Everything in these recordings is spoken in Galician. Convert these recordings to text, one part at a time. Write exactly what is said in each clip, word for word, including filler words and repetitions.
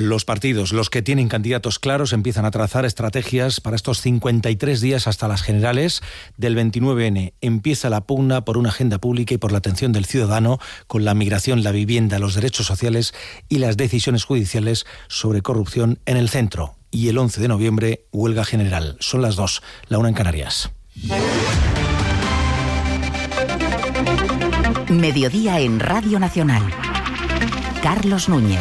Los partidos, los que tienen candidatos claros, empiezan a trazar estrategias para estos cincuenta y tres días hasta las generales del veintinueve ene. Empieza la pugna por una agenda pública y por la atención del ciudadano con la migración, la vivienda, los derechos sociales y las decisiones judiciales sobre corrupción en el centro. Y el once de noviembre, huelga general. Son las dos, la una en Canarias. Mediodía en Radio Nacional. Carlos Núñez.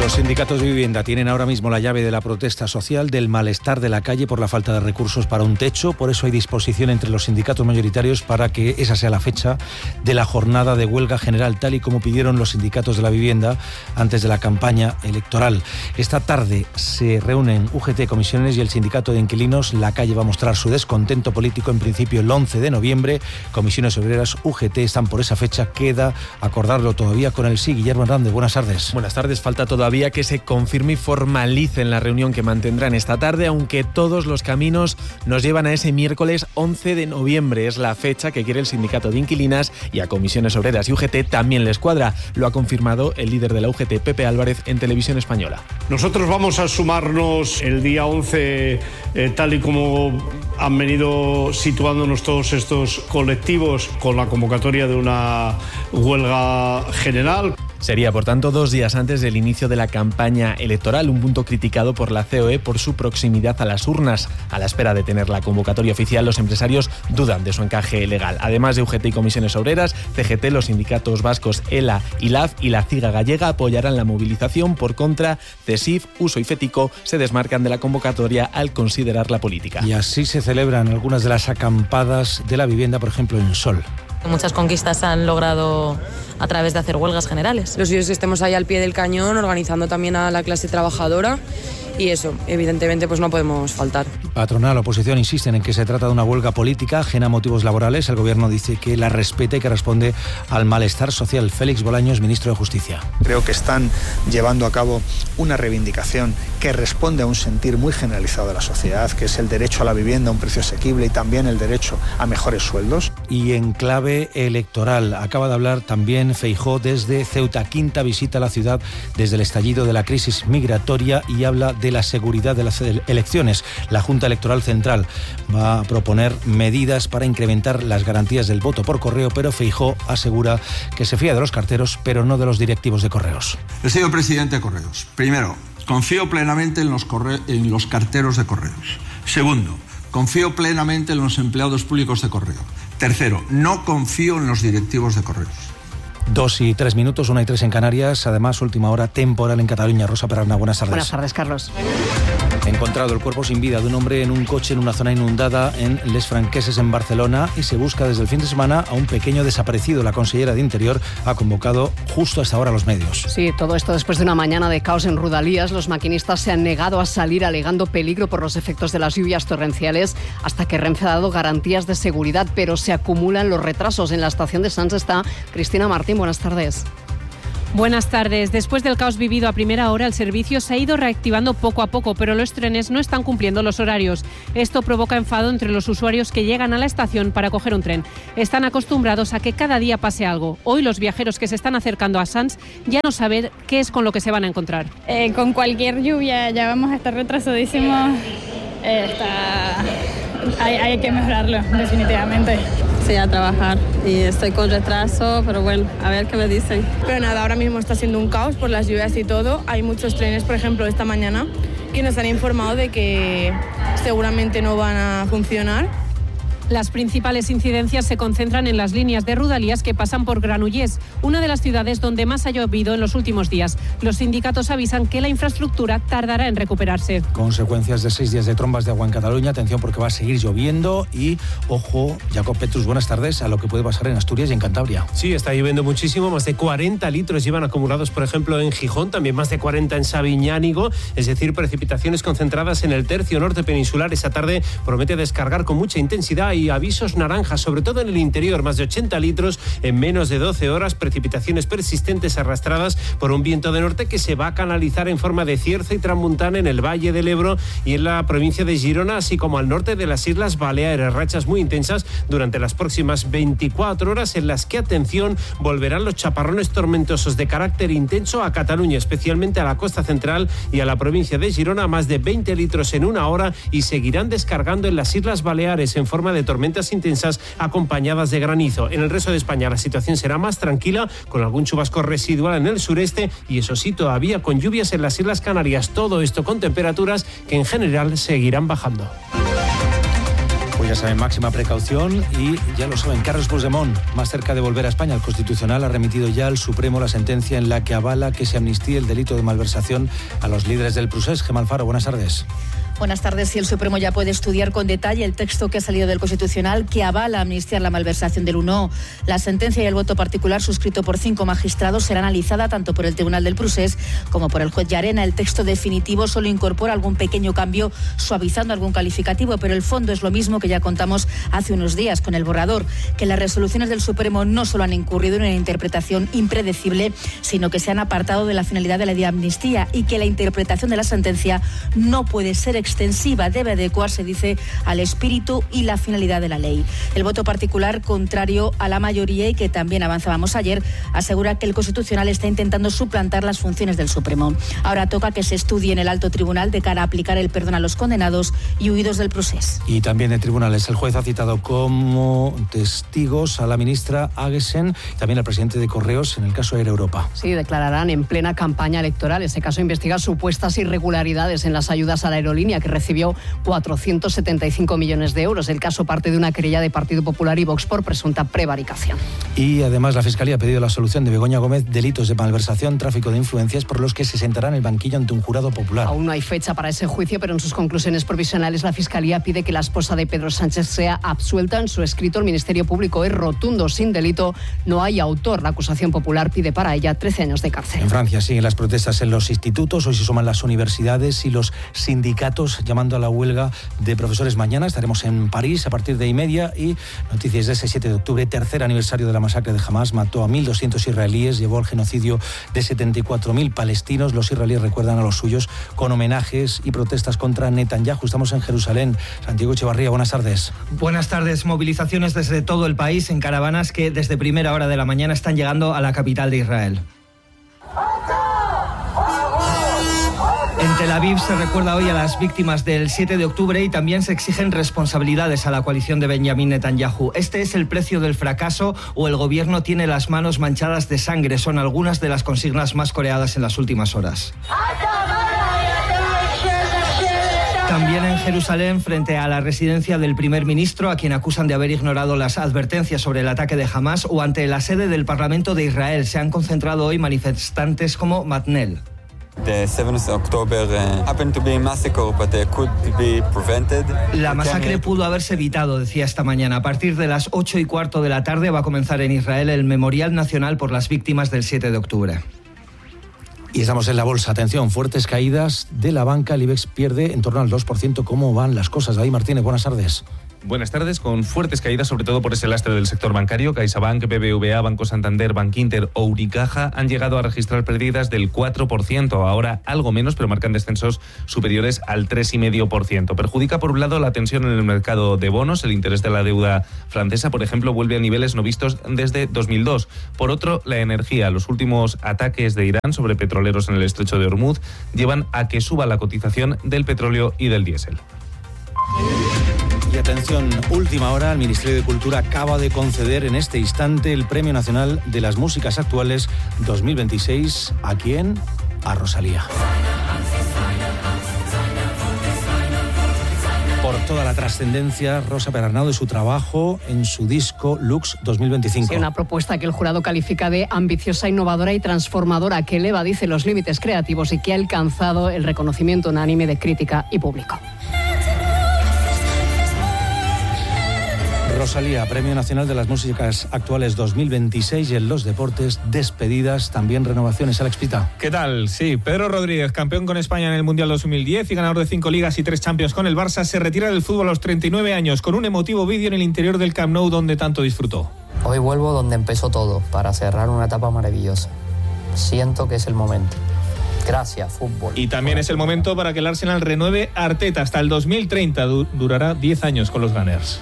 Los sindicatos de vivienda tienen ahora mismo la llave de la protesta social, del malestar de la calle por la falta de recursos para un techo. Por eso hay disposición entre los sindicatos mayoritarios para que esa sea la fecha de la jornada de huelga general, tal y como pidieron los sindicatos de la vivienda antes de la campaña electoral. Esta tarde se reúnen U G T, comisiones y el sindicato de inquilinos. La calle va a mostrar su descontento político en principio el once de noviembre. Comisiones obreras, U G T están por esa fecha. Queda acordarlo todavía con el sí. Guillermo Hernández, buenas tardes. Buenas tardes. Falta todavía que se confirme y formalice en la reunión que mantendrán esta tarde, aunque todos los caminos nos llevan a ese miércoles once de noviembre. Es la fecha que quiere el sindicato de inquilinas y a comisiones obreras y U G T también les cuadra. Lo ha confirmado el líder de la U G T, Pepe Álvarez, en Televisión Española. Nosotros vamos a sumarnos el día once, eh, tal y como han venido situándonos todos estos colectivos, con la convocatoria de una huelga general. Sería, por tanto, dos días antes del inicio de la campaña electoral, un punto criticado por la C O E por su proximidad a las urnas. A la espera de tener la convocatoria oficial, los empresarios dudan de su encaje legal. Además de U G T y comisiones obreras, C G T, los sindicatos vascos ELA, ILAF y la CIGA gallega apoyarán la movilización. Por contra, CESIF, Uso y FETICO se desmarcan de la convocatoria al considerarla política. Y así se celebran algunas de las acampadas de la vivienda, por ejemplo, en Sol. Muchas conquistas se han logrado a través de hacer huelgas generales. Los suyos que estemos ahí al pie del cañón, organizando también a la clase trabajadora, y eso, evidentemente, pues no podemos faltar. Patronal, oposición insisten en que se trata de una huelga política ajena a motivos laborales. El gobierno dice que la respeta y que responde al malestar social. Félix Bolaños, ministro de Justicia. Creo que están llevando a cabo una reivindicación que responde a un sentir muy generalizado de la sociedad, que es el derecho a la vivienda a un precio asequible y también el derecho a mejores sueldos. Y en clave electoral, acaba de hablar también Feijóo desde Ceuta. Quinta visita a la ciudad desde el estallido de la crisis migratoria y habla de la seguridad de las elecciones. La Junta Electoral Central va a proponer medidas para incrementar las garantías del voto por correo, pero Feijóo asegura que se fía de los carteros, pero no de los directivos de correos. El señor presidente de Correos, primero, confío plenamente en los, corre- en los carteros de correos. Segundo, confío plenamente en los empleados públicos de correo. Tercero, no confío en los directivos de correos. Dos y tres minutos, una y tres en Canarias. Además, última hora temporal en Cataluña. Rosa Perarna, buenas tardes. Buenas tardes, Carlos. Encontrado el cuerpo sin vida de un hombre en un coche en una zona inundada en Les Franqueses, en Barcelona, y se busca desde el fin de semana a un pequeño desaparecido. La consellera de Interior ha convocado justo a esta hora a los medios. Sí, todo esto después de una mañana de caos en Rodalías. Los maquinistas se han negado a salir alegando peligro por los efectos de las lluvias torrenciales, hasta que Renfe ha dado garantías de seguridad, pero se acumulan los retrasos. En la estación de Sants está Cristina Martín. Buenas tardes. Buenas tardes. Después del caos vivido a primera hora, el servicio se ha ido reactivando poco a poco, pero los trenes no están cumpliendo los horarios. Esto provoca enfado entre los usuarios que llegan a la estación para coger un tren. Están acostumbrados a que cada día pase algo. Hoy los viajeros que se están acercando a Sants ya no saben qué es con lo que se van a encontrar. Eh, con cualquier lluvia ya vamos a estar retrasadísimos. Eh, está... hay, hay que mejorarlo, definitivamente. Sí, a trabajar y estoy con retraso, pero bueno, a ver qué me dicen. Pero nada, ahora mismo está siendo un caos por las lluvias y todo. Hay muchos trenes, por ejemplo, esta mañana, que nos han informado de que seguramente no van a funcionar. Las principales incidencias se concentran en las líneas de Rodalías que pasan por Granollers, una de las ciudades donde más ha llovido en los últimos días. Los sindicatos avisan que la infraestructura tardará en recuperarse. Consecuencias de seis días de trombas de agua en Cataluña. Atención, porque va a seguir lloviendo y, ojo, Jacob Petrus, buenas tardes, a lo que puede pasar en Asturias y en Cantabria. Sí, está lloviendo muchísimo. Más de cuarenta litros llevan acumulados, por ejemplo, en Gijón. También más de cuarenta en Sabiñánigo. Es decir, precipitaciones concentradas en el tercio norte peninsular. Esa tarde promete descargar con mucha intensidad y avisos naranjas, sobre todo en el interior, más de ochenta litros en menos de doce horas, precipitaciones persistentes arrastradas por un viento de norte que se va a canalizar en forma de cierzo y tramontana en el Valle del Ebro y en la provincia de Girona, así como al norte de las Islas Baleares. Rachas muy intensas durante las próximas veinticuatro horas, en las que, atención, volverán los chaparrones tormentosos de carácter intenso a Cataluña, especialmente a la costa central y a la provincia de Girona, más de veinte litros en una hora, y seguirán descargando en las Islas Baleares en forma de tormentas intensas acompañadas de granizo. En el resto de España la situación será más tranquila, con algún chubasco residual en el sureste y, eso sí, todavía con lluvias en las Islas Canarias. Todo esto con temperaturas que en general seguirán bajando. Pues ya saben, máxima precaución y ya lo saben, Carles Puigdemont, más cerca de volver a España. El Constitucional ha remitido ya al Supremo la sentencia en la que avala que se amnistíe el delito de malversación a los líderes del Procés. Gemma Alfaro, buenas tardes. Buenas tardes. Si el Supremo ya puede estudiar con detalle el texto que ha salido del Constitucional que avala amnistiar la malversación del uno. La sentencia y el voto particular suscrito por cinco magistrados será analizada tanto por el Tribunal del Procés como por el juez Llarena. El texto definitivo solo incorpora algún pequeño cambio, suavizando algún calificativo, pero el fondo es lo mismo que ya contamos hace unos días con el borrador, que las resoluciones del Supremo no solo han incurrido en una interpretación impredecible, sino que se han apartado de la finalidad de la de amnistía y que la interpretación de la sentencia no puede ser extensiva, debe adecuarse, dice, al espíritu y la finalidad de la ley. El voto particular, contrario a la mayoría y que también avanzábamos ayer, asegura que el Constitucional está intentando suplantar las funciones del Supremo. Ahora toca que se estudie en el alto tribunal de cara a aplicar el perdón a los condenados y huidos del procés. Y también de tribunales, el juez ha citado como testigos a la ministra Aguesen y también al presidente de Correos en el caso Air Europa. Sí, declararán en plena campaña electoral. Ese caso investiga supuestas irregularidades en las ayudas a la aerolínea, que recibió cuatrocientos setenta y cinco millones de euros. El caso parte de una querella de Partido Popular y Vox por presunta prevaricación. Y además la Fiscalía ha pedido la absolución de Begoña Gómez, delitos de malversación, tráfico de influencias, por los que se sentará en el banquillo ante un jurado popular. Aún no hay fecha para ese juicio, pero en sus conclusiones provisionales la Fiscalía pide que la esposa de Pedro Sánchez sea absuelta. En su escrito, el Ministerio Público es rotundo: sin delito, no hay autor. La acusación popular pide para ella trece años de cárcel. En Francia siguen las protestas en los institutos, hoy se suman las universidades y los sindicatos llamando a la huelga de profesores. Mañana estaremos en París a partir de y media. Y noticias de ese siete de octubre, tercer aniversario de la masacre de Hamás. Mató a mil doscientos israelíes, llevó al genocidio de setenta y cuatro mil palestinos. Los israelíes recuerdan a los suyos con homenajes y protestas contra Netanyahu. Estamos en Jerusalén. Santiago Echevarría, buenas tardes. Buenas tardes. Movilizaciones desde todo el país en caravanas que desde primera hora de la mañana están llegando a la capital de Israel. En Tel Aviv se recuerda hoy a las víctimas del siete de octubre y también se exigen responsabilidades a la coalición de Benjamin Netanyahu. Este es el precio del fracaso o el gobierno tiene las manos manchadas de sangre. Son algunas de las consignas más coreadas en las últimas horas. También en Jerusalén, frente a la residencia del primer ministro, a quien acusan de haber ignorado las advertencias sobre el ataque de Hamás, o ante la sede del Parlamento de Israel, se han concentrado hoy manifestantes como Matnel. La masacre pudo haberse evitado, decía esta mañana. A partir de las ocho y cuarto de la tarde va a comenzar en Israel el Memorial Nacional por las víctimas del siete de octubre. Y estamos en la bolsa. Atención, fuertes caídas de la banca. El IBEX pierde en torno al dos por ciento. ¿Cómo van las cosas? David Martínez, buenas tardes. Buenas tardes, con fuertes caídas, sobre todo por ese lastre del sector bancario. CaixaBank, B B V A, Banco Santander, Bankinter o Unicaja han llegado a registrar pérdidas del cuatro por ciento, ahora algo menos, pero marcan descensos superiores al tres coma cinco por ciento. Perjudica, por un lado, la tensión en el mercado de bonos. El interés de la deuda francesa, por ejemplo, vuelve a niveles no vistos desde dos mil dos. Por otro, la energía. Los últimos ataques de Irán sobre petroleros en el estrecho de Hormuz llevan a que suba la cotización del petróleo y del diésel. Y atención, última hora, el Ministerio de Cultura acaba de conceder en este instante el Premio Nacional de las Músicas Actuales dos mil veintiséis. ¿A quién? A Rosalía. Por toda la trascendencia, Rosa Perarnau, de su trabajo en su disco Lux dos mil veinticinco. Sí, una propuesta que el jurado califica de ambiciosa, innovadora y transformadora, que eleva, dice, los límites creativos y que ha alcanzado el reconocimiento unánime de crítica y público. Rosalía, Premio Nacional de las Músicas Actuales dos mil veintiséis, y en los deportes, despedidas, también renovaciones. Alex Pita. ¿Qué tal? Sí, Pedro Rodríguez, campeón con España en el Mundial dos mil diez y ganador de cinco ligas y tres Champions con el Barça, se retira del fútbol a los treinta y nueve años con un emotivo vídeo en el interior del Camp Nou donde tanto disfrutó. Hoy vuelvo donde empezó todo, para cerrar una etapa maravillosa. Siento que es el momento. Gracias, fútbol. Y también es el momento para que el Arsenal renueve a Arteta hasta el dos mil treinta. Du- durará diez años con los Gunners.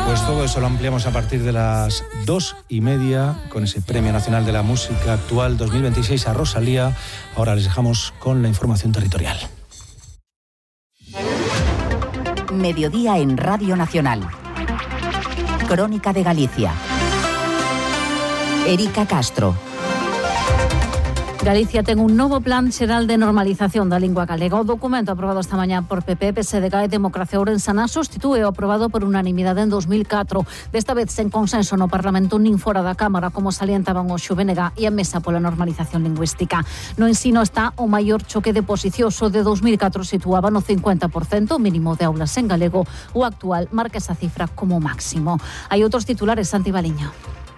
Pues todo eso lo ampliamos a partir de las dos y media con ese Premio Nacional de la Música Actual dos mil veintiséis a Rosalía. Ahora les dejamos con la información territorial. Mediodía en Radio Nacional. Crónica de Galicia. Erika Castro. Galicia ten un novo plan xeral de normalización da lingua galega. O documento aprobado esta mañá por P P, P S D G e Democracia Ourensana sustitúe o aprobado por unanimidade en dos mil catro. Desta vez sen consenso no Parlamento nin fora da Cámara, como salientaban o X U V N G e a Mesa pola Normalización Lingüística. No ensino está o maior choque de posicións. O de dos mil catro situaba no cincuenta por cento o mínimo de aulas en galego. O actual marca esa cifra como máximo. Hai outros titulares, Santi Baliño.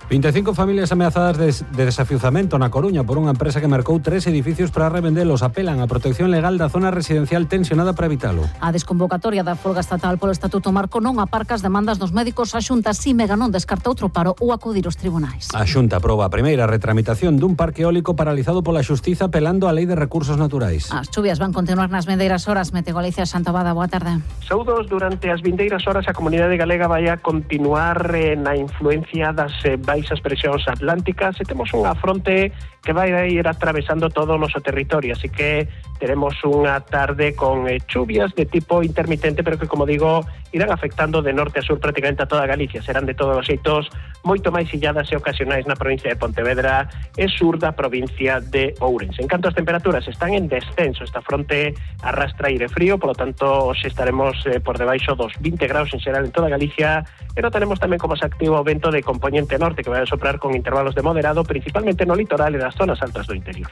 vinte e cinco familias ameazadas de, de desafiuzamento na Coruña por unha empresa que mercou tres edificios para revendelos. Apelan á protección legal da zona residencial tensionada para evitalo. A desconvocatoria da folga estatal polo Estatuto Marco non aparca as demandas dos médicos. A Xunta Simega non descarta outro paro ou acudir aos tribunais. A Xunta aproba a primeira retramitación dun parque eólico paralizado pola Xustiza apelando á Lei de Recursos Naturais. As chuvias van continuar nas vindeiras horas. Mete Galicia, Xantabada, boa tarde. Saúdos, durante as vindeiras horas a comunidade galega vai a continuar eh, na influencia das eh, baixas presións atlánticas e temos unha fronte que vai a ir atravesando todo o noso territorio, así que teremos unha tarde con eh, chuvias de tipo intermitente, pero que, como digo, irán afectando de norte a sur prácticamente a toda Galicia. Serán de todos os xeitos moito máis illadas e ocasionais na provincia de Pontevedra e sur da provincia de Ourense. En canto as temperaturas están en descenso, esta fronte arrastra aire frío, polo tanto, hoxe estaremos eh, por debaixo dos vinte graus en xeral en toda Galicia, pero tenemos tamén como se activo o vento de componente norte que vai a soprar con intervalos de moderado, principalmente no litoral e nas zonas altas do interior.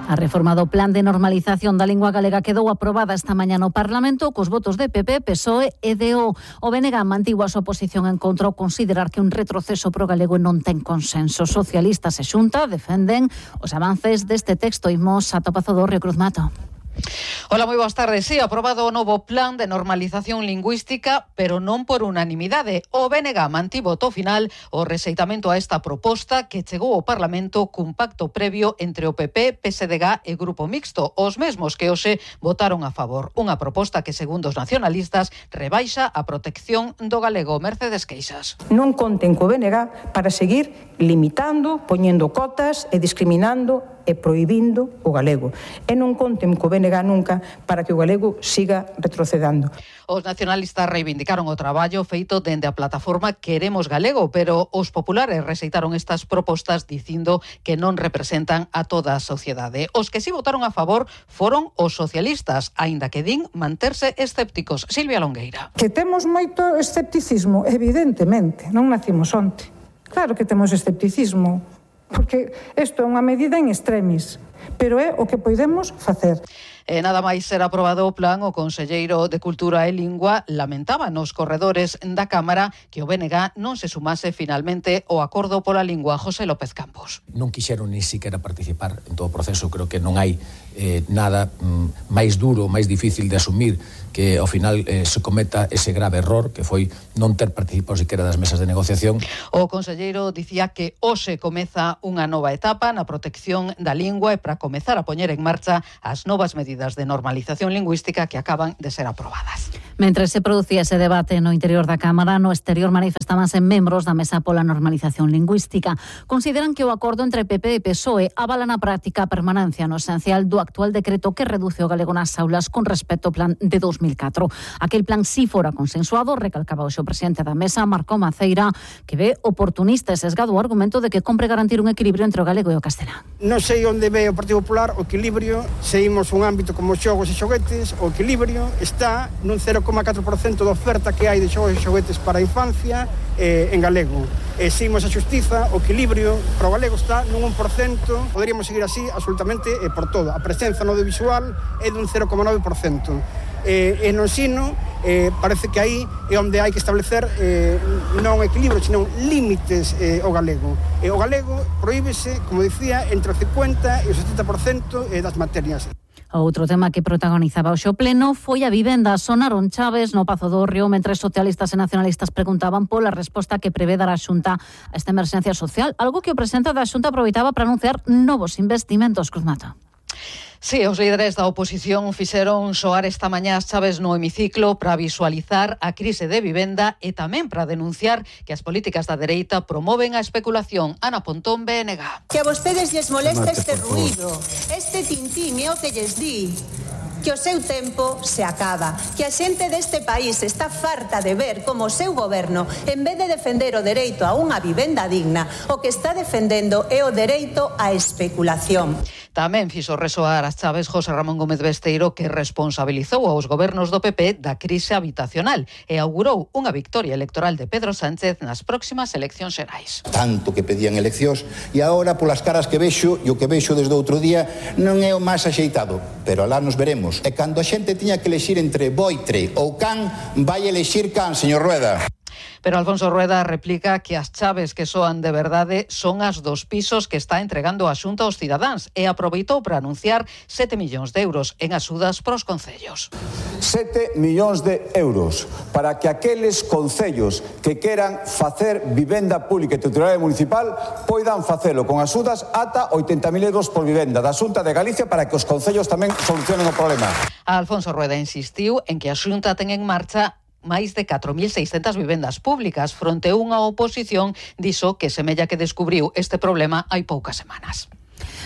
A reforma do Plan de Normalización da Lingua Galega quedou aprobada esta mañá no Parlamento cos votos de P P, P S O E e D O. O B N G mantivo a súa posición en contra ao considerar que un retroceso pro galego non ten consenso. Socialistas e Xunta defenden os avances deste texto. Imos a Topazo do Río Cruz Mato. Hola, moi boas tardes. Sí, aprobado o novo plan de normalización lingüística, pero non por unanimidade. O B N G mantivo to final o rexeitamento a esta proposta que chegou ao Parlamento cun pacto previo entre o P P, P S D G e Grupo Mixto, os mesmos que hoxe votaron a favor. Unha proposta que, segundo os nacionalistas, rebaixa a protección do galego. Mercedes Queixas. Non conten co B N G para seguir limitando, poñendo cotas e discriminando e prohibindo o galego. E non conten co B N G nunca para que o galego siga retrocedando. Os nacionalistas reivindicaron o traballo feito dende a plataforma Queremos Galego, pero os populares rexeitaron estas propostas dicindo que non representan a toda a sociedade. Os que si votaron a favor foron os socialistas, aínda que din manterse escépticos. Silvia Longueira. Que temos moito escepticismo, evidentemente, non nacimos onte. Claro que temos escepticismo, porque isto é unha medida en extremis, pero é o que podemos facer. E nada máis ser aprobado o plan, o conselleiro de Cultura e Lingua lamentaba nos corredores da Cámara que o B N G non se sumase finalmente ao acordo pola lingua. José López Campos. Non quixeron ni siquiera participar en todo o proceso. Creo que non hai eh, nada mm, máis duro, máis difícil de asumir que ao final eh, se cometa ese grave error que foi non ter participado siquiera das mesas de negociación. O conselleiro dicía que hoxe comeza unha nova etapa na protección da lingua e para comezar a poñer en marcha as novas medidas de normalización lingüística que acaban de ser aprobadas. Mentre se producía ese debate no interior da Cámara, no exterior manifestábanse membros da Mesa pola Normalización Lingüística. Consideran que o acordo entre P P e P S O E avala na práctica a permanencia no esencial do actual decreto que reduce o galego nas aulas con respecto ao plan de dos mil catro. Aquel plan si fora consensuado, recalcaba o seu presidente da Mesa, Marco Maceira, que ve oportunista e sesgado o argumento de que compre garantir un equilibrio entre o galego e o castelán. Non sei onde ve o Partido Popular, o equilibrio, se imos un ámbito como xogos e xoguetes, o equilibrio está nun cero coma catro por cento da oferta que hai de xogos e xoguetes para a infancia eh, en galego. E se imos a xustiza, o equilibrio para o galego está nun un por cento, poderíamos seguir así absolutamente eh, por todo. A presenza no audiovisual é dun cero coma nove por cento. Eh, e no ensino eh, parece que aí é onde hai que establecer eh, non equilibrio, senón límites eh, ao galego. E o galego prohíbese, como dicía, entre o cincuenta e o setenta por cento das materias. Outro tema que protagonizaba o xo pleno foi a vivenda. Sonaron chaves no Pazo do Río mentre socialistas e nacionalistas preguntaban pola resposta que prevé dar a Xunta a esta emerxencia social, algo que o presidente da Xunta aproveitaba para anunciar novos investimentos. Cruz Mata. Sí, os líderes da oposición fixeron soar esta mañá as chaves no hemiciclo para visualizar a crise de vivenda e tamén para denunciar que as políticas da dereita promoven a especulación. Ana Pontón, B N G. Que a vostedes lles molesta este ruído, este tintín é o que lles di que o seu tempo se acaba, que a xente deste país está farta de ver como o seu goberno, en vez de defender o dereito a unha vivenda digna, o que está defendendo é o dereito á especulación. Tamén fixo resoar as chaves José Ramón Gómez Besteiro, que responsabilizou aos gobernos do P P da crise habitacional e augurou unha victoria electoral de Pedro Sánchez nas próximas eleccións xerais. Tanto que pedían eleccións e agora polas caras que vexo e o que vexo desde outro día non é o máis axeitado, pero alá nos veremos. E cando a xente tiña que elexir entre boitre ou can, vai elexir can, señor Rueda. Pero Alfonso Rueda replica que as chaves que soan de verdade son as dos pisos que está entregando a Xunta aos cidadáns e aproveitou para anunciar sete millóns de euros en axudas pros concellos. sete millóns de euros para que aqueles concellos que queran facer vivenda pública e titularidade municipal poidan facelo con axudas ata oitenta mil euros por vivenda da Xunta de Galicia para que os concellos tamén solucionen o problema. Alfonso Rueda insistiu en que a Xunta ten en marcha máis de catro mil seiscentas vivendas públicas fronte a unha oposición dixo que semella que descubriu este problema hai poucas semanas.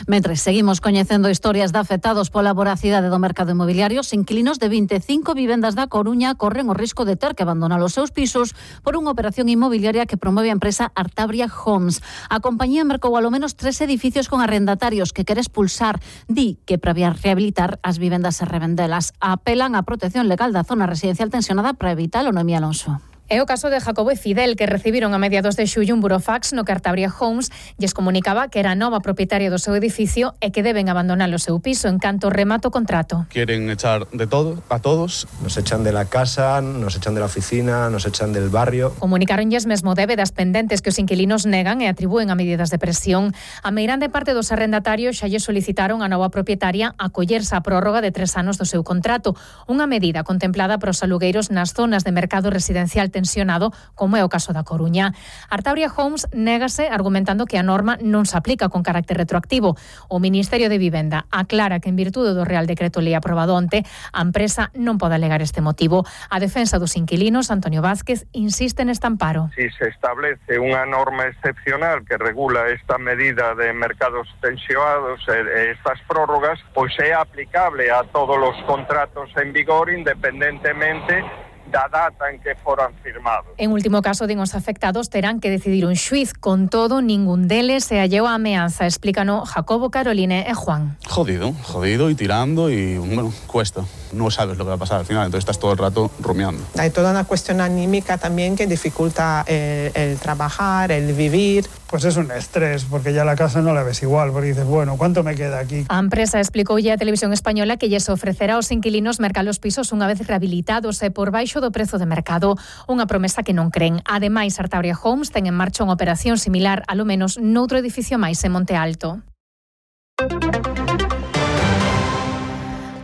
Mentres seguimos coñecendo historias de afectados pola voracidade do mercado inmobiliario, os inquilinos de vinte e cinco vivendas da Coruña corren o risco de ter que abandonar os seus pisos por unha operación inmobiliaria que promove a empresa Artabria Homes. A compañía mercou alo menos tres edificios con arrendatarios que quere expulsar. Di que previa rehabilitar as vivendas e revendelas. Apelan á protección legal da zona residencial tensionada para evitalo. Noemí Alonso. É o caso de Jacobo e Fidel, que recibiron a mediados de xullo un burofax no que Artabria Homes lles comunicaba que era a nova propietaria do seu edificio e que deben abandonar o seu piso en canto remata o contrato. Quieren echar de todo, a todos. Nos echan de la casa, nos echan de la oficina, nos echan del barrio. Comunicaronlles mesmo débedas pendentes que os inquilinos negan e atribúen a medidas de presión. A meirande parte dos arrendatarios xa lle solicitaron a nova propietaria acollerse a prórroga de tres anos do seu contrato, unha medida contemplada para os alugueiros nas zonas de mercado residencial tensionado, como é o caso da Coruña. Artabria Homes négase argumentando que a norma non se aplica con carácter retroactivo. O Ministerio de Vivenda aclara que en virtude do Real Decreto Lei aprobado onte, a empresa non pode alegar este motivo. A defensa dos inquilinos, Antonio Vázquez, insiste neste amparo. Si se establece unha norma excepcional que regula esta medida de mercados tensionados e estas prórrogas, pois é aplicable a todos os contratos en vigor independentemente da data en que foran firmados. En último caso, din os afectados terán que decidir un xuiz. Con todo, ningún deles se halleu a ameaza, explícano Jacobo, Caroline e Juan. Jodido, jodido y tirando y, bueno, cuesta. No sabes lo que va a pasar al final, entonces estás todo el rato rumiando. Hay toda una cuestión anímica también que dificulta el, el trabajar, el vivir. Pues es un estrés, porque ya la casa no la ves igual, porque dices, bueno, ¿cuánto me queda aquí? A empresa explicou ya a Televisión Española que lles ofrecerá aos inquilinos mercar os pisos unha vez rehabilitados e por baixo do prezo de mercado, unha promesa que non creen. Ademais, Artabria Homes ten en marcha unha operación similar, alo menos, noutro edificio máis en Monte Alto.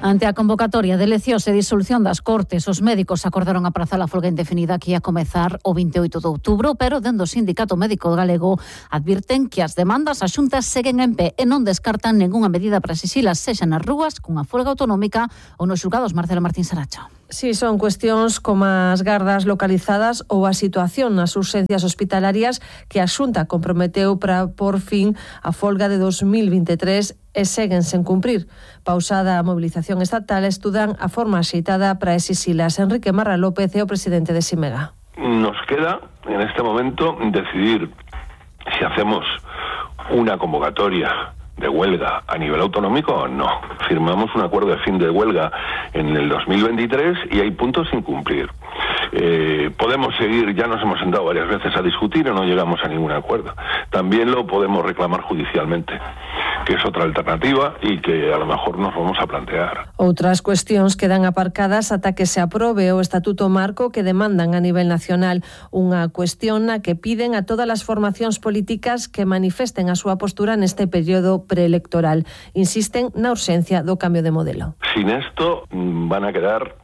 Ante a convocatoria de eleccións e disolución das Cortes, os médicos acordaron aprazar a folga indefinida que ia comezar o vinte e oito de outubro, pero dende o Sindicato Médico Galego advirten que as demandas a Xunta seguen en pé e non descartan ningunha medida para exixilas, sexa nas rúas, cunha folga autonómica ou nos xulgados. Marcela Martín Saracho. Sí, son cuestións como as gardas localizadas ou a situación nas urxencias hospitalarias que a Xunta comprometeu para por fin a folga de dos mil vinte e tres e seguen sen cumprir. Pausada a movilización estatal, estudan a forma axeitada para exixilas. Enrique Marra López é o presidente de Simega. Nos queda en este momento decidir si hacemos una convocatoria de huelga a nivel autonómico, no. Firmamos un acuerdo de fin de huelga en el dos mil veintitrés y hay puntos sin cumplir. Eh, podemos seguir, ya nos hemos sentado varias veces a discutir y no llegamos a ningún acuerdo. También lo podemos reclamar judicialmente, que es otra alternativa y que a lo mejor nos vamos a plantear. Outras cuestións quedan aparcadas ata que se aprobe o Estatuto Marco que demandan a nivel nacional, unha cuestión na que piden a todas as formacións políticas que manifesten a súa postura neste período preelectoral. Insisten na urxencia do cambio de modelo. Sin esto van a quedar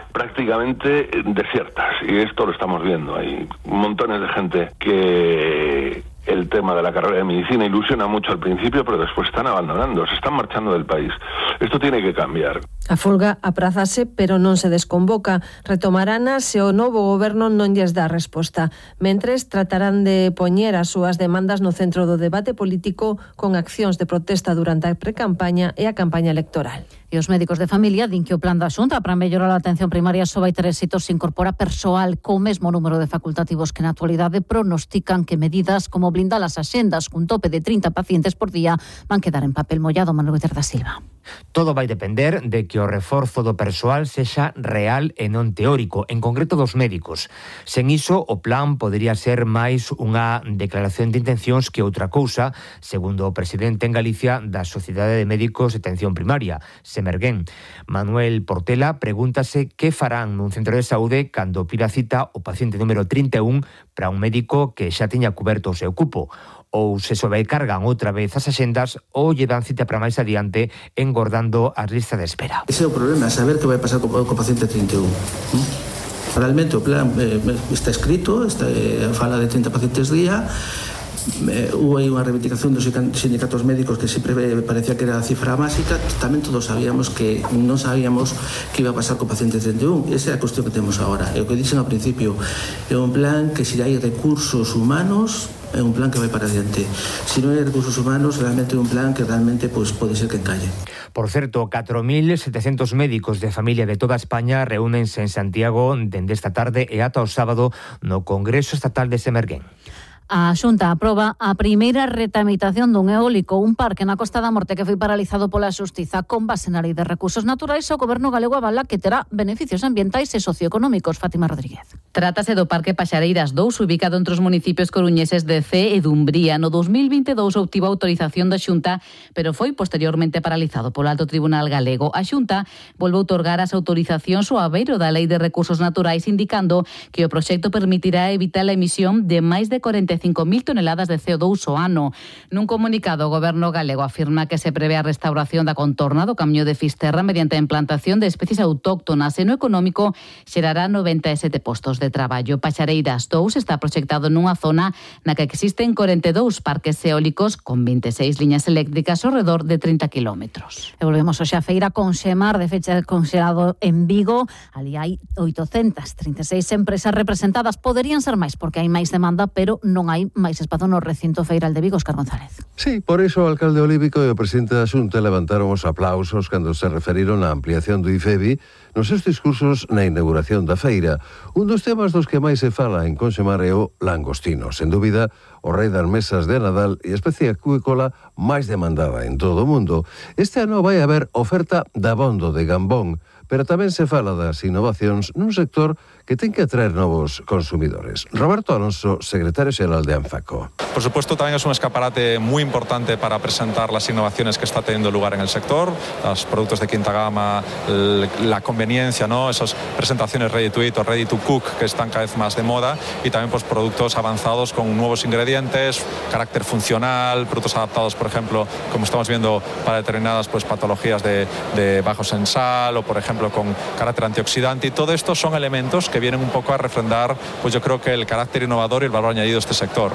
prácticamente desiertas y esto lo estamos viendo. Hay montones de gente que el tema de la carrera de medicina ilusiona mucho al principio, pero después están abandonando, se están marchando del país. Esto tiene que cambiar. A folga aprázase, pero non se desconvoca. Retomarana se o novo goberno non lles dá resposta. Mentres, tratarán de poñer as súas demandas no centro do debate político con accións de protesta durante a precampaña e a campaña electoral. E os médicos de familia din que o plan da Xunta para mellorar a atención primaria só vai ter éxito se incorpora persoal co mesmo número de facultativos que na actualidade pronostican que medidas como blindar as axendas cun tope de trinta pacientes por día van quedar en papel mollado. Manuel Guter da Silva. Todo vai depender de que o reforzo do persoal sexa real e non teórico, en concreto dos médicos. Sen iso, o plan podería ser máis unha declaración de intencións que outra cousa, segundo o presidente en Galicia da Sociedade de Médicos de Atención Primaria, Semerguén. Manuel Portela pregúntase que farán nun centro de saúde cando pida cita o paciente número trinta e un para un médico que xa tiña cuberto o seu cupo, ou se sobrecargan outra vez as axendas ou lle dan cita para máis adiante engordando as listas de espera. Ese é o problema, saber que vai pasar co, co paciente trinta e un. Realmente o plan eh, está escrito, está, eh, fala de trinta pacientes día. Eh, hubo aí unha reivindicación dos sindicatos médicos que sempre parecía que era a cifra básica. Tamén todos sabíamos que non sabíamos que iba a pasar co paciente trinta e un. Esa é a cuestión que temos agora. É o que dixen ao principio, é un plan que se hai recursos humanos é un plan que vai para adiante. Se non hai recursos humanos, realmente é un plan que realmente pues, pode ser que encalle. Por certo, catro mil setecentos médicos de familia de toda España reúnense en Santiago dende esta tarde e ata o sábado no Congreso Estatal de Semerguén. A Xunta aproba a primeira retramitación dun eólico, un parque na Costa da Morte que foi paralizado pola Xustiza con base na Lei de Recursos Naturais. O Goberno galego avala que terá beneficios ambientais e socioeconómicos. Fátima Rodríguez. Trátase do Parque Paxareiras dous, ubicado entre os municipios coruñeses de Cee e Dumbría. No dos mil vinte e dous obtivo autorización da Xunta, pero foi posteriormente paralizado polo Alto Tribunal Galego. A Xunta volve a outorgar as autorizacións ao abeiro da Lei de Recursos Naturais, indicando que o proxecto permitirá evitar a emisión de máis de cuarenta e cinco mil toneladas de C O dous ao ano. Nun comunicado, o Goberno galego afirma que se prevé a restauración da contorna do Camiño de Fisterra mediante a implantación de especies autóctonas e no económico xerará noventa e sete postos de traballo. Paxareiras dous está proxectado nunha zona na que existen cuarenta e dous parques eólicos con vinte e seis liñas eléctricas ao redor de trinta kilómetros. E volvemos hoxe a feira con Xemar de fecha conxelado en Vigo. Ali hai oitocentas trinta e seis empresas representadas. Poderían ser máis porque hai máis demanda, pero non hai máis espazo no recinto feiral de Vigo. Óscar González. Sí, por iso o alcalde Olívico e o presidente da Xunta levantaron os aplausos cando se referiron á ampliación do IFEBI nos seus discursos na inauguración da feira. Un dos temas dos que máis se fala en Conxemar é o langostino. Sen dúbida, o rei das mesas de Nadal e a especie acuícola máis demandada en todo o mundo. Este ano vai haber oferta de abondo de gambón, pero tamén se fala das innovacións nun sector que ten que atraer novos consumidores. Roberto Alonso, secretario xeral de ANFACO. Por supuesto, también es un escaparate muy importante para presentar las innovaciones que está teniendo lugar en el sector, los productos de quinta gama, la conveniencia, ¿no? Esas presentaciones ready to eat o ready to cook que están cada vez más de moda, y también pues productos avanzados con nuevos ingredientes, carácter funcional, productos adaptados, por ejemplo, como estamos viendo, para determinadas pues patologías de, de bajos en sal, o por ejemplo con carácter antioxidante, y todo esto son elementos que vienen un poco a refrendar, pues yo creo que el carácter innovador y el valor añadido de este sector.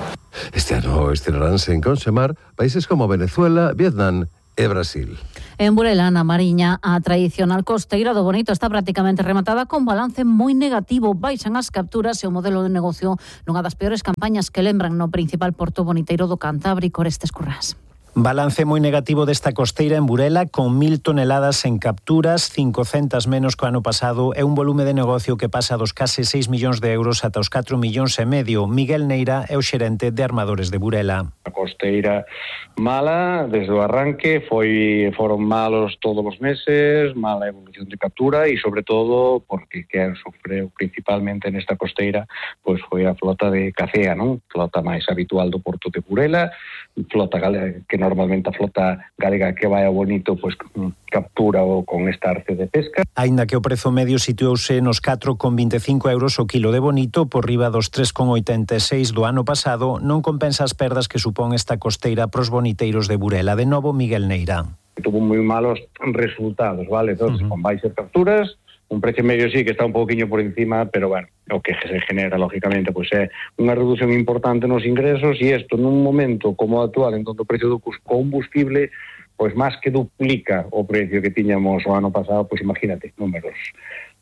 Este ano estrenaránse en Conxemar países como Venezuela, Vietnam e Brasil. En Burela, na Mariña, a tradicional costeira do Bonito está prácticamente rematada con balance moi negativo. Baixan as capturas e o modelo de negocio nunha das peores campañas que lembran no principal porto boniteiro do Cantábrico. Orestes Currás. Balance moi negativo desta costeira en Burela, con mil toneladas en capturas, cincocentas menos que o ano pasado, e un volume de negocio que pasa dos case seis millóns de euros ata os catro millóns e medio. Miguel Neira é o xerente de Armadores de Burela. A costeira mala desde o arranque, foi foron malos todos os meses, mala evolución de captura e sobre todo porque quen sofreu principalmente nesta costeira pois foi a flota de Cacea, non? Flota máis habitual do porto de Burela, flota galega, que normalmente a flota galega que vai a Bonito pois captura o con esta arce de pesca. Aínda que o prezo medio situouse nos catro con vinte e cinco euros o kilo de Bonito por riba dos tres con oitenta e seis do ano pasado, non compensa as perdas que supón esta costeira pros boniteiros de Burela. De novo, Miguel Neira. Tuvo moi malos resultados, vale? Entonces, uh -huh. con baixas capturas, un precio medio sí que está un poquinho por encima, pero bueno, o que se genera, lógicamente, pois é unha reducción importante nos ingresos e isto nun momento como o actual, en donde o precio do combustible pois máis que duplica o precio que tiñamos o ano pasado, pois imagínate, números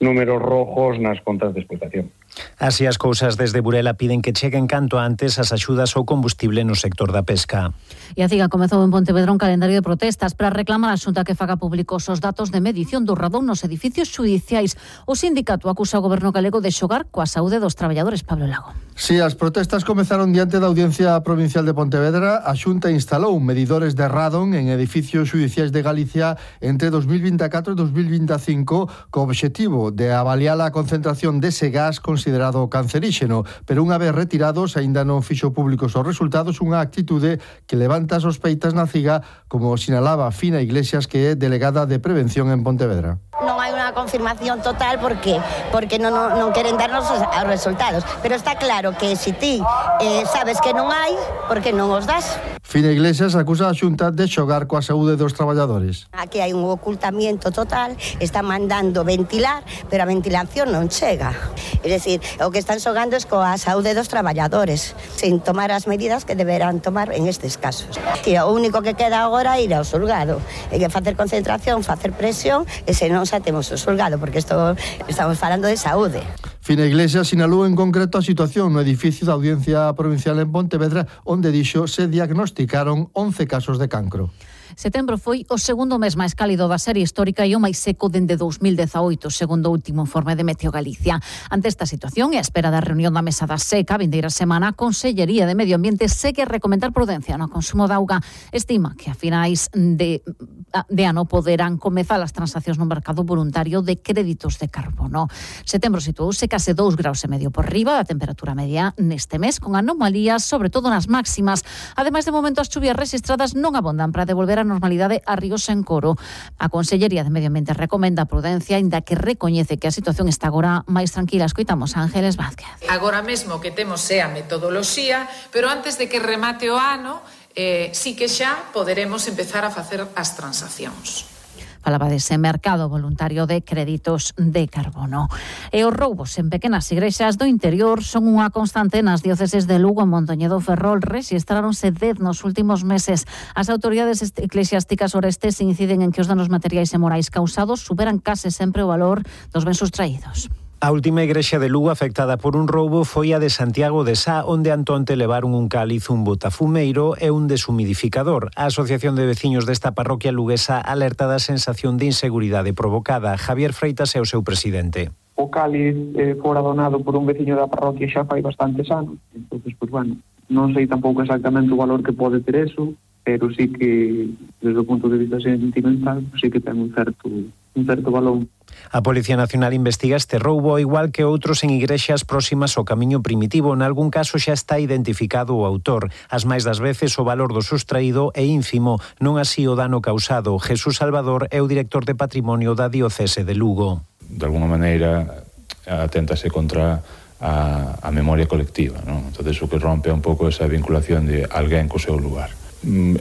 números rojos nas contas de explotación. Así as cousas, desde Burela piden que cheguen canto antes as axudas ao combustible no sector da pesca. E a CIGA comezou en Pontevedra un calendario de protestas para reclamar a Xunta que faga públicos os datos de medición do radón nos edificios xudiciais. O sindicato acusa o goberno galego de xogar coa saúde dos traballadores. Pablo Lago. Si, as protestas comezaron diante da Audiencia Provincial de Pontevedra. A Xunta instalou medidores de radón en edificios xudiciais de Galicia entre dos mil vinte e catro e dos mil vinte e cinco co obxectivo de avaliar a concentración dese gas considerado canceríxeno, pero unha vez retirados aínda non fixo públicos os resultados, unha actitude que levanta sospeitas na CIGA, como sinalaba Fina Iglesias, que é delegada de Prevención en Pontevedra. Non hai unha confirmación total, por qué? Porque non, non, non queren darnos os, os resultados, pero está claro que se ti eh, sabes que non hai, por que non os das? Fina Iglesias acusa a Xunta de xogar coa saúde dos traballadores. Aquí hai un ocultamiento total, están mandando ventilar, pero a ventilación non chega. É dicir, o que están xogando é coa saúde dos traballadores, sin tomar as medidas que deberán tomar en estes casos. Que o único que queda agora é ir ao xulgado, é que facer concentración, facer presión, e se non xa temos o xulgado, porque isto estamos falando de saúde. Fina Iglesias sinalou en concreto a situación no edificio da Audiencia Provincial en Pontevedra, onde dixo se diagnosticaron once casos de cancro. Setembro foi o segundo mes máis cálido da serie histórica e o máis seco dende dos mil dezaoito, segundo o último informe de Meteo Galicia. Ante esta situación e a espera da reunión da Mesa da Seca, a vindeira semana, a Consellería de Medio Ambiente segue a recomendar prudencia no consumo de auga. Estima que a finais de, de ano poderán comezar as transaccións no mercado voluntario de créditos de carbono. Setembro situouse case dous graus e medio por riba da temperatura media neste mes, con anomalías, sobre todo nas máximas. Ademais, de momento, as chuvias registradas non abondan para devolver a normalidade a ríos en Coro. A Consellería de Medio Ambiente recomenda prudencia, aínda que recoñece que a situación está agora máis tranquila. Escoitamos a Ángeles Vázquez. Agora mesmo que temos é a metodoloxía, pero antes de que remate o ano, eh, sí que xa poderemos empezar a facer as transaccións. Falaba dese mercado voluntario de créditos de carbono. E os roubos en pequenas igrexas do interior son unha constante nas dióceses de Lugo, Mondoñedo, Ferrol. Rexistráronse dez nos últimos meses. As autoridades eclesiásticas orestes inciden en que os danos materiais e morais causados superan case sempre o valor dos bens sustraídos. A última igrexa de Lugo afectada por un roubo foi a de Santiago de Sá, onde antonte levaron un cáliz, un botafumeiro e un deshumidificador. A Asociación de Veciños desta parroquia luguesa alerta da sensación de inseguridade provocada. Javier Freitas é o seu presidente. O cáliz eh, fora donado por un veciño da parroquia xa fai bastantes anos. Entón, pues, bueno, non sei tampouco exactamente o valor que pode ter eso, pero sí que, desde o punto de vista sentimental, sí que ten un certo, un certo valor. A Policía Nacional investiga este roubo, igual que outros en igrexas próximas ao camiño primitivo. Nalgún caso xa está identificado o autor. As máis das veces o valor do sustraído é ínfimo, non así o dano causado. Jesús Salvador é o director de Patrimonio da Diocese de Lugo. De alguna maneira aténtase contra a, a memoria colectiva, non? Entón, o que rompe un pouco esa vinculación de alguén co seu lugar.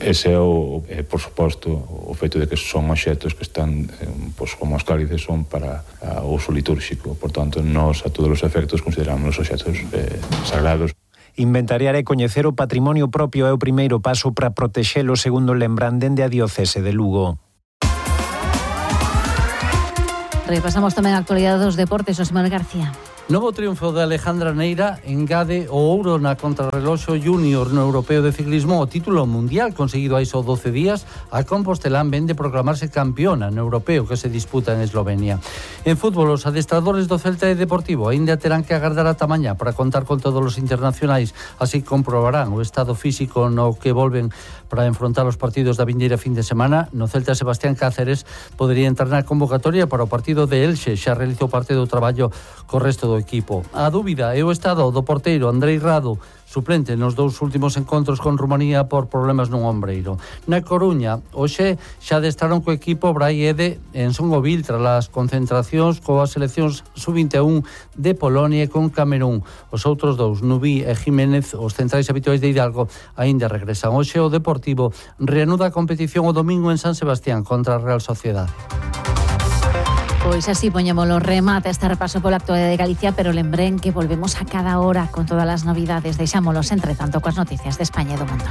Ese é, o, é, por suposto, o feito de que son obxectos que están, eh, pois, como os cálices, son para o uso litúrxico. Por tanto, nós, a todos os efectos, consideramos os obxectos eh, sagrados. Inventariar e coñecer o patrimonio propio é o primeiro paso para protexelo, segundo lembran dende a Diocese de Lugo. Repasamos tamén a actualidade dos deportes, Osmar García. Novo triunfo de Alejandra Neira engade o ouro na contrarreloxo júnior no Europeo de Ciclismo, o título mundial conseguido hai só doce días. A compostelán vende proclamarse campeona no Europeo que se disputa en Eslovenia. En fútbol, os adestradores do Celta e Deportivo aínda terán que agardar ata mañá para contar con todos os internacionais, así comprobarán o estado físico no que volven para enfrontar os partidos da vindeira fin de semana. No Celta, Sebastián Cáceres podería entrar na convocatoria para o partido de Elxe, xa realizou parte do traballo co resto do equipo. A dúbida é o estado do porteiro Andrei Rado, suplente nos dous últimos encontros con Rumanía por problemas nun ombreiro. Na Coruña, hoxe xa adestraron co equipo Brai Ede en Songovil tras as concentracións coas seleccións sub vinte e un de Polonia e con Camerún. Os outros dous, Nubí e Jiménez, os centrais habituais de Hidalgo, aínda regresan. Hoxe o Deportivo reanuda a competición o domingo en San Sebastián contra a Real Sociedade. Pois así poñémolo remate este repaso pola actualidade de Galicia, pero lembren que volvemos a cada hora con todas as novidades. Deixámolos, entre tanto, coas noticias de España e do mundo.